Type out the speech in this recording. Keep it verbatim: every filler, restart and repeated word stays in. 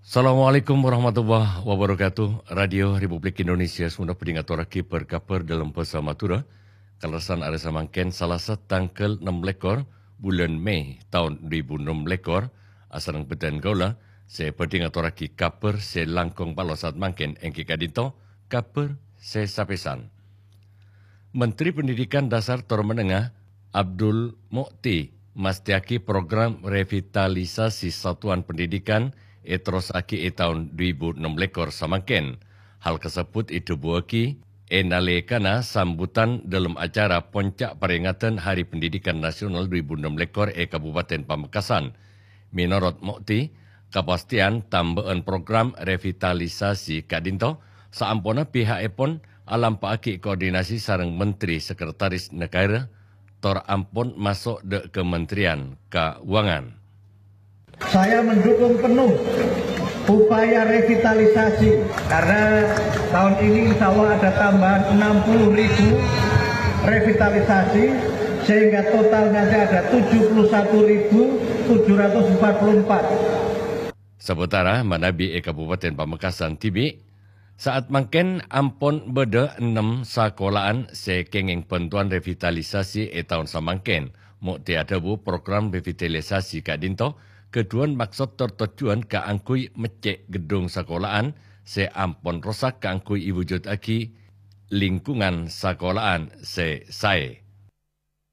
Assalamualaikum warahmatullahi wabarakatuh. Radio Republik Indonesia Sunda bhâdhi ngatorraghi bâr-kabhâr dâlem bhâsa Madhurâ. Kalerressan arè samangkèn Salasa tangghâl ennem lèkor bulân Mei taon dhu èbu ennem lèkor, asareng bhâdhân kaulâ sè bhâdhi ngatorraghi kabhâr sè langkong palossat mangkèn èngghi ka'dinto kabhâr sè sapèsan. Menteri Pendidikan Dasar tor Menengah Abdul Mu'ti mastèyaghi program revitalisasi satuan pendidikan èterrossaghi è taon dhu èbu ennem lèkor samangkèn. Hal kasebbhut èdhâbuwâghi è nalèkana sambutan dâlem acara ponca' parèngadan Hari Pendidikan Nasional dhu èbu ennem lèkor è Kabupaten Pamekasan. Mènorot Mu'ti, kapastèyan tambâ'ân program revitalisasi ka'dinto saamponna piha'èpon alampa'aghi koordinasi sareng Menteri Sekretaris Negara, tor ampon maso' dâ' Kementerian Kauangan. Saya mendukung penuh upaya revitalisasi karena tahun ini insya Allah ada tambahan enam puluh ribu revitalisasi sehingga total nanti ada tujuh puluh satu ribu tujuh ratus empat puluh empat. Sabâtara manabi è Kabupaten Pamekasan dhibi', saat mangkèn ampon bâdâ ennem sakola'an sè kèngèng bhântowan revitalisasi è taon samangkèn. Mu'ti adhâbu program revitalisasi ka'dinto ghâdhuwân maksod tor tojjhuwân kaangghuy meccè' ghedhung sakola'an sè ampon rosak kaangghuy èwujuddhâghi lingkungan sakola'an sè saè.